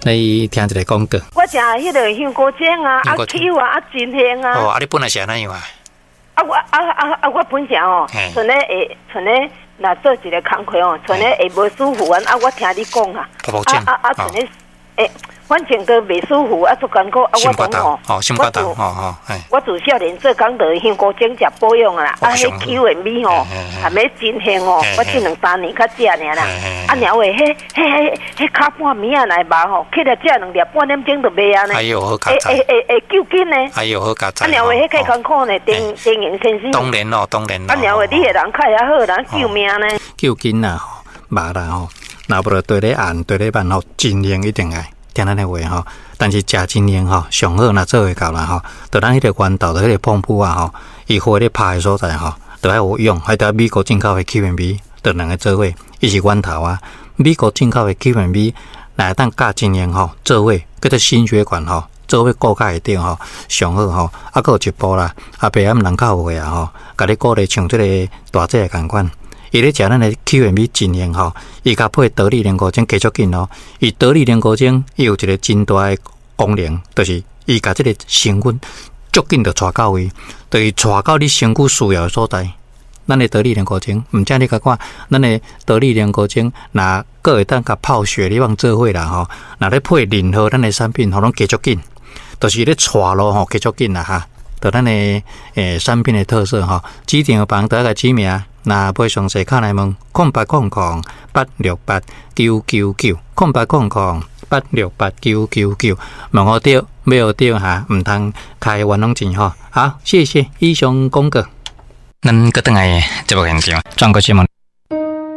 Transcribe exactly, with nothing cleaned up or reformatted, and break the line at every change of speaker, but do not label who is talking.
你聽一个廣告。
我食彼个香菇精啊，啊
香菇精
Q 啊，啊真香啊！
哦，啊，你本來是按怎樣啊？
啊我啊啊啊我本身吼
嘿，
賰咧會賰咧，若做一个工課吼，賰咧會無舒服啊！啊我聽你講啊，
婆婆症
啊啊啊賰咧會，反正都袂舒服啊，足艱苦啊！
心肝
我講吼
頭，哦，心肝頭，
我自
哦哦，嘿，
我自少年做工就香菇精食保養啊啦，啊，彼
哦上好
Q 的米吼
嘿嘿，嘿
含咧真香哦
嘿，
我這兩三年較食爾啦
嘿嘿，
啊，爾話，彼彼彼彼跤半暝仔來肉吼，起來食兩粒，半點鐘就袂啊呢，
哎呦，好佳
會
哉，
會會會救緊呢，
哎呦，好佳哉。
啊，爾話，彼較
哦
艱苦呢，丁丁榮先生，
當然咯，當然咯。
啊，爾話你的人較會好，人救命呢。
救緊啦，吼，肉啦吼，若無就綴咧按，綴咧慢吼，真用一定愛聽咱的話吼。但是食真用吼，上好若做會到啦吼，就咱彼个源頭的彼个泵浦啊吼，伊火咧拍的所在吼，就愛有用，還得美國進口的 Q and B，就兩个做伙，伊是源頭啊。美國進口的 Q and B，若會當佮真用吼做伙，叫做心血管吼，做伙顧較會著吼，上好吼。啊，閣有一步啦，阿伯暗人較有的啊吼，共你鼓勵像這个大姐的仝款。伊咧食咱的 Q and B 真用吼，伊共配得力靈菇精加足緊哦。伊得力靈菇精，伊有一个真大的功能，就是伊共這个成分足緊就帶到位，就是帶到你身軀需要的所在。咱的得力靈菇精，毋只你共看，咱的得力靈菇精，若閣會當共泡雪梨棒做伙啦吼，若咧配任何咱的產品吼，攏加足緊，就是咧帶路吼加足緊啦哈。就咱的欸產品的特色吼，指定房得個指名，若欲詳細敲來問，空八空空八六八九九九，空八空空八六八九九九，問好著，欲學著哈，毋通開冤枉錢吼。好，謝謝以上廣告。咱閣轉來節目現場，轉過新聞。